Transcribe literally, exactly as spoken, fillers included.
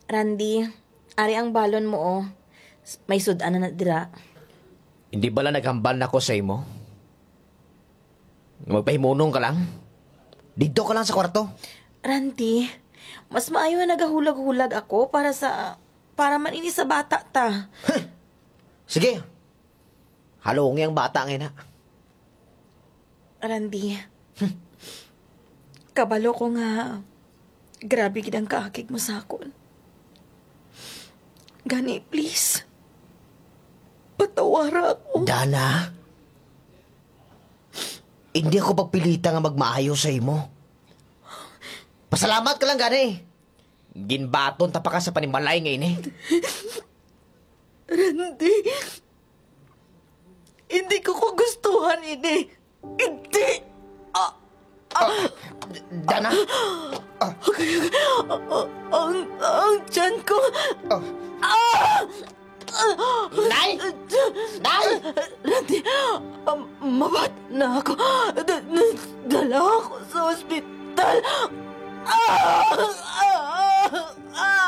Randy, ari ang balon mo, oh. S-, may sud-an na na dira. Hindi bala naghambal na ko sa imo? Magpahimunong ka lang. Didto ka lang sa kwarto. Randy, mas maayo nga nagahulag-hulag ako para sa, para man ini sa bata ta. Sige. Halungi ang bata nga ina. Randy, kabalo ko nga grabe gid ang kaakig mo sa akon. Gani, please, patawara ako. Dana, hindi ako pagpilita nga magmaayo sa imo. Pasalamat ka lang gani. Ginbaton ta pa ka sa panimalay nga ini. Randy, hindi ko kagustuhan ini. Hindi! Ah! Ah! Dana? Ah! Ang, ang, ang tiyan ko! Ah! Ah! Nay! Nay! Randy, um, mabat na ako. Da-, da-, dala ako sa ospital. Ah! Ah! Ah!